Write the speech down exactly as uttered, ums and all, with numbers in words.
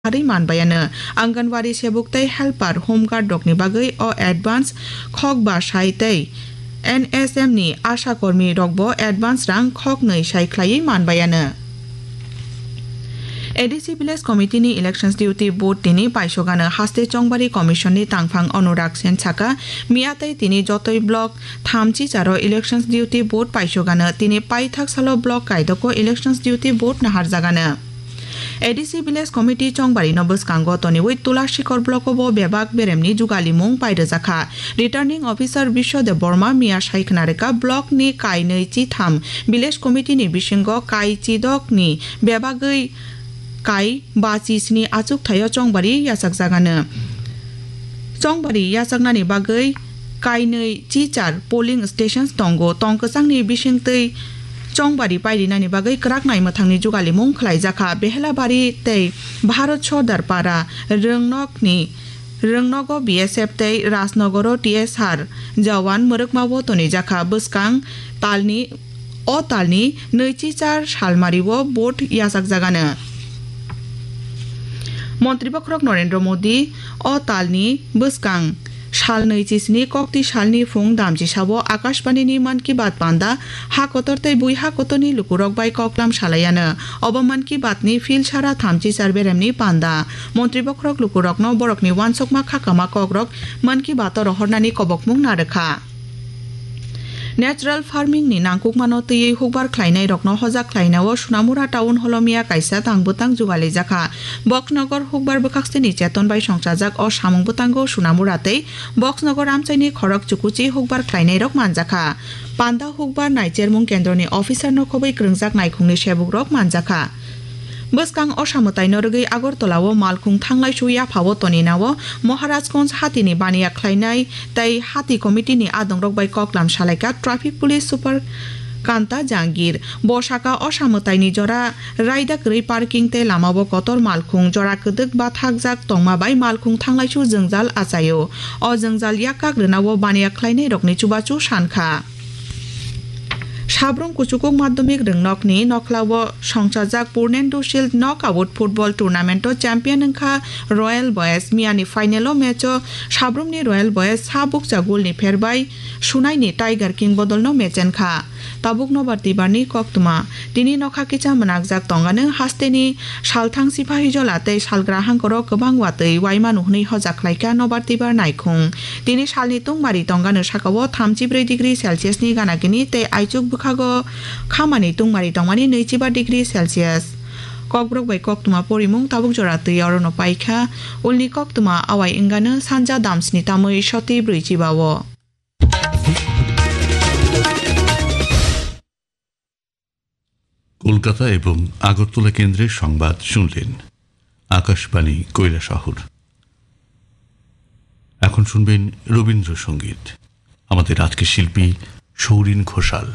harwi manbayano. Anganwadi sebuk tei helper, home guard rokni bagwi o advance khok ba sai tei N S M ni asha kormi rokbo advance rang khok nwi sai khlaiwi manbayano. A D C Village Committee ni Elections Duty Board tini paisogano haste Chongbari Commission ni tangphang Anurag Sen saka, miya tei tini jotoi block thamchi charo Elections Duty Board paisogano, tini paithak salo block kaidoko Elections Duty Board naharjagano. A D C Village Committee Chongbari no bwskango toniwi Tulashikor block o bo bebak beremni jugalimung pairwjakha. Returning Officer Biswa Debbarma miya sai khna rwkha, block ni kainwi chitham Village Committee ni bisingo kai chidok ni bebagwi kai ba chi sni achuk thaio Chongbari yachakjagano. Chongbari yachaknani bagwi kainwi chichar polling stations tongo. Tong kwchangni bisingtwi Chongbari pairinani bagwi kwrak naimwthangni jugalimung khlaijakha. Behelabari tei Bharat Sordar Para, Rwngnokni, Rwngnogo B S F tei Rajnogoro T S R jawan mwrwkmao tonijakha. Bwskang talni, o talni nwichi char salmario vote yachakjagano. Montri Bokhorok Narendra Modi o talni bwskang sal nwi chisni kokti salni phung damchisao Akashbani ni Mann Ki Baat panda ha kotor tei bui ha kotorni lukurok bai koklam salaiano. Obo Mann Ki Baat ni phil sara thamchi char beremni panda. Montri Bokhorok lukurokno borokni uansukma khakama kokrok Mann Ki Baat o rohornani kobokmung narwkha. Natural farming ni nangkukmano twiwi hukbar khlainairokno hojak khlainao Sunamura Town Hall o miya kaisa tang bwtang jugalijak kha. Boxnogor hukbar bwkhaksini cheton bai songchajak o samung bwtango Sunamura tei Boxnogor amchaini khorok chukuchi hukbar khlainairok manjakha. Panda hukbar naichermung kendroni officer no khobwi kwrwngjak naikhungni sebukrok manjakha. Bwskang osa mwtaino rwgwi Agartala o malkhung thanglaisu yaphao toninao Maharajganj hatini baniya khlainai tei hati committee ni adongrok bai koklam salaikha traffic police super Kanta Jangir. Bo saka osa mwtaini jora raida kwrwi parking tei lamao kotor malkhung jora kwdwk bathakjak tongma bai malkhung thanglaisu jwngjal achaio. O jwngjal yak kak rwnao baniya khlainairokni chubachu sankha. Sabrum Kuchukuk Madhyamik Rwngnokni nokhlao songchajak Purnendu Shield Knockout Football Tournament o champion wngkha Royal Boys. Miyani final o match o Sabrumni Royal Boys sa bukcha goal ni pherbai sunaini Tiger King bodolno mechenkha. Tabuk nobar tibarni koktwma. Tini nokha kicha mwnakjak tongano hasteni salthang siphahijola tei salgra hangkoro kwbang watwi uaimano hwnwi hojak khlaikha nobar tibar naikhung. Tini salni tungmari tongano sakao thamchi brwi degree Celsius ni gana gini tei aichuk bwkhago khamani tungmari tongmani nwichiba degree Celsius. Kokborok bai koktwma porimung tabuk jora twi orono paikha. Ulni koktwma awai wngano sanja damsni tamwi soti brwichiba o. Kolkata এবং আগরতলা কেন্দ্রের সংবাদ শুনলেন আকাশবাণী কৈলাসহর। এখন শুনবেন রবীন্দ্রসঙ্গীত। আমাদের আজকের শিল্পী সৌরিন ঘোষাল।